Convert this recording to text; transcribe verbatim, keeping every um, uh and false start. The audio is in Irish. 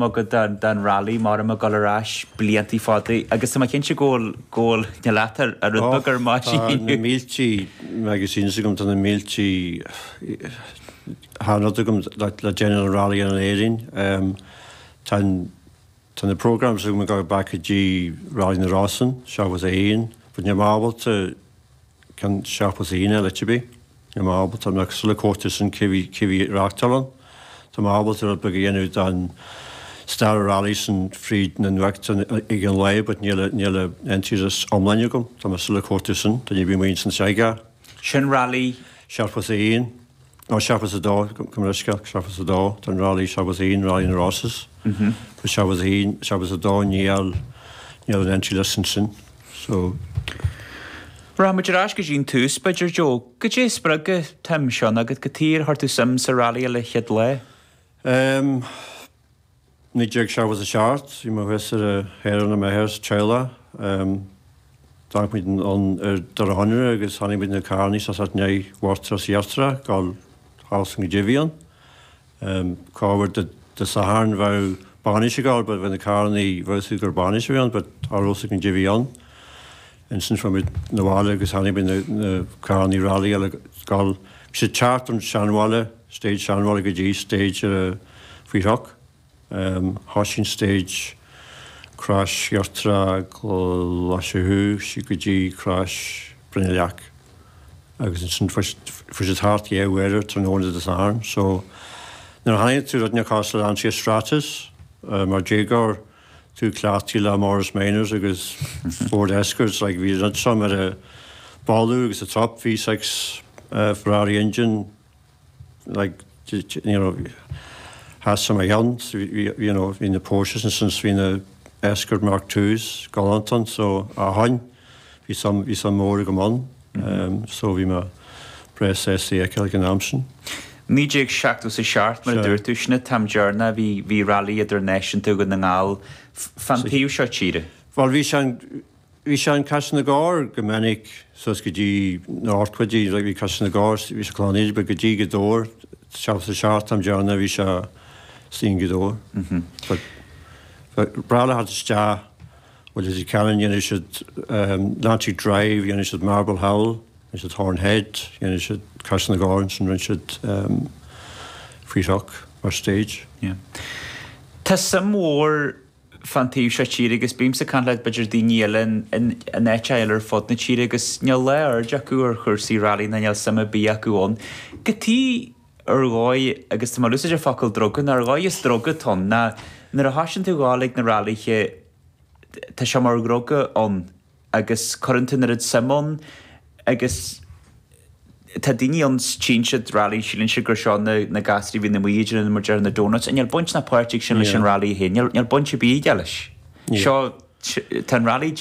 agat den, den rally mar am ag dul ar ais bliantaí fada agus tá mé cinnte go bhfuil go bhfuil na leat ar ar rud beag ar Tá maisín. na míltí magazines agam tá na míltí rud agam le le déanamh an rally in Éirinn. Um, tá tá na programs agam ag dul back go dtí Rally na Rosann, seachtó a haon, but níl mé ábalta ceann seachtó a haon eile bí. Níl mé ábalta nach sula cóta san cé bhí reáchtáil ann. Tá mé ábalta rud beag a dhéanamh den stair rally san fríd na nuachta ag an lae, but níl níl entries iomlán agam, Tá mé sula cóta san, tá ní bí muin san seiga. Sin rally Seachtó a haon, nó seachtó a dó cum leisce seachtó a dó, Tá rally seachtó a haon rally na Rosses. Seachtó a haon seachtó a dó níl níl an entry list sin. So Rachaimid ar ais go dtí an tús b'fhéidir Joe, Cad é spreag an tsuim seo agat cad chuige ar chuir tú suim sa rally le chéad lá. Um, naoi déag seachtó a seacht, bhí mé thuas ar a héan na methir teile. Um, D'amharc muid an ar dar honra agus tháinig muid na carrannaí sa né bhartras iartra gáil hás go dtííon. Um, Cáhar de de Satharn bheith banis gáil, but bheit na carrannaí bheith gur bainis bhíon, but árósa an dtííon. Ansin fuair muid na bhaile agus tháinig muid na, na carrannaí rally eile gáil sé teart an seanbhaile, stage seanbhaile go dtí stage uh, faoi rock. Um, Thosaigh stage Crois Iartra Glaisiú sí go dtí Crois Brinileach. Agus ansin fuair sé thart dhá uair tráthnóna Dé Sathairn, so nuair a tháinig tú rud cos le Lancia Stratos uh, mar déagóir tú cleachtaí le Morris Minors agus Ford Escorts like bhí rud seo mar a ballú agus a top V six uh, Ferrari engine like you know has some cheann you know bhí na Porsches and since bhí na Escort Mark Twos galantan so a hain bhí sam bhí sam mór go man um, so bhí mé breá sásta ag an am sin. Naoi déag seachtó a seacht mar a dúirt tú sin an t-am deireanach bhí bhí rally idirnáisiúnta Dhún na nGall fan taobh seo tíre. Well bhí sé bhí sé an Caiseal na gCorr go minic sos go dtí na ortcuidí bhí Caiseal na gCorr bhí sé cláid go dtí go dóir se sa seacht am deireanach bhí sé stín go dóir. Bra had isteach well is cannon dhéanamh siad Atlantic Drive dhéanamh siad Marble Hall siad Horn Head dhéanamh siad Caiseal na gCorr sin rinne siad faoi rock mar stage. Yeah. Tá suim mhór fan taobh seo tíre agus bímse ag caint le b'fhéidir daoine eile in áit eile ar fud na tíre agus níl le aird acu ar chúrsaí rally na níl suim ar bith acu ann. Cad chuige ar dhóigh agus tá úsáid ar focal druga ar dhóigh is druga ann ná nuair a thosaíonn tú ag dul ag na rallythe tá sé mar dhruga ann agus cuireann tú an oiread suim ann agus tá daoine an tínse rally síleann siad gur seo na na gasraí bhí na muidir mar deir na donuts, níl baint ná páirteach sin leis an rally féin, níl baint ar bith leis. Seo tá an rally